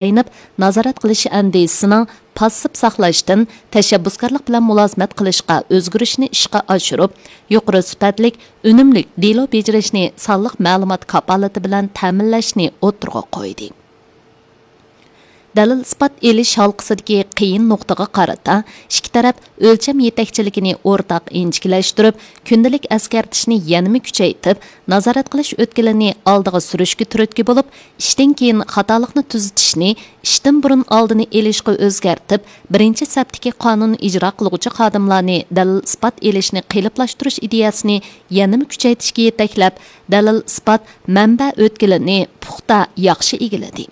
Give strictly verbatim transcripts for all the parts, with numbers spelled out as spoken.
تايىنىپ، نازارەت قىلىش ئەندىزىسىنىڭ پاسسىپ ساقلاشتىن تەشەببۇسكارلىق بىلەن مۇلازىمەت قىلىشقا ئۆزگىرىشنى ئىشقا ئاشۇرۇپ، يۇقىرى سۈپەتلىك، ئۈنۈملۈك دېلو بېجىرىشنى سانلىق مەلۇمات كاپالىتى بىلەن تەمىنلەشنى ئوتتۇرىغا قويدى. دەلىل-ئىسپات ئېلىش ھالقىسىدىكى قىيىن نۇقتىغا قارىتا، ئىككى تەرەپ ئۆلچەم يېتەكچىلىكىنى ئورتاق ئىنچىكىلەشتۈرۈپ، كۈندىلىك ئەسكەرتىشنى يەنىمۇ كۈچەيتىپ، نازارەت قىلىش ئۆتكىلىنى ئالدىغا سۈرۈشكە تۈرتكە بولۇپ، ئىشتىن كېيىن خاتالىقنى تۈزىتىشنى ئىشتىن بۇرۇن ئالدىنى ئېلىشقا ئۆزگەرتىپ، بىرىنچى سەپتىكى قانۇن ئىجرا قىلغۇچى خادىملارنى دەلىل-ئىسپات ئېلىشنى قېلىپلاشتۇرۇش ئىدىيەسىنى يەنىمۇ كۈچەيتىشكە يېتەكلەپ، دەلىل-ئىسپات مەنبە ئۆتكىلىنى پۇختا، ياخشى ئىگىلىدى.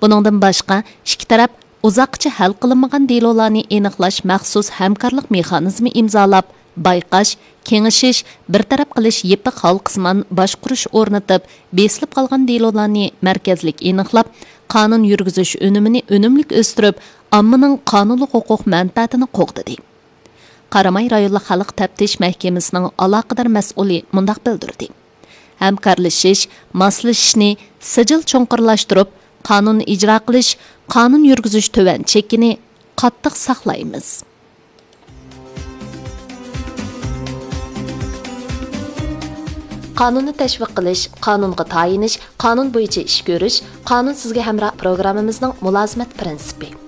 بۇنىڭدىن باشقا، ئىككى تەرەپ ئۇزاققىچە ھەل قىلىنمىغان دېلولارنى ئېنىقلاش مەخسۇس ھەمكارلىق مېخانىزمى ئىمزالاپ، بايقاش، كېڭىشىش، بىر تەرەپ قىلىش يېپىق ھالقىسىمان باشقۇرۇش ئورنىتىپ، بېسىلىپ قالغان دېلولارنى مەركەزلىك ئېنىقلاپ، قانۇن يۈرگۈزۈش ئۈنۈمىنى ئۈنۈملۈك ئۆستۈرۈپ، ئاممىنىڭ قانۇنلۇق ھوقۇق مەنپەئەتىنى قوغدىدى. قاراماي رايونلۇق خەلق تەپتىش مەھكىمىسىنىڭ ئالاقىدار مەسئۇلى مۇنداق بىلدۈردى: ھەمكارلىشىش، ماسلىشىشنى سىجىل چوڭقۇرلاشتۇرۇپ، قانۇن ئىجرا قىلىش، قانۇن يۈرگۈزۈش تۆۋەن چېكىنى قاتتىق ساقلايمىز. قانۇننى تەشۋىق قىلىش، قانۇنغا تايىنىش، قانۇن بويىچە ئىش كۆرۈش، قانۇن سىزگە ھەمراھ پروگراممىمىزنىڭ مۇلازىمەت پىرىنسىپى.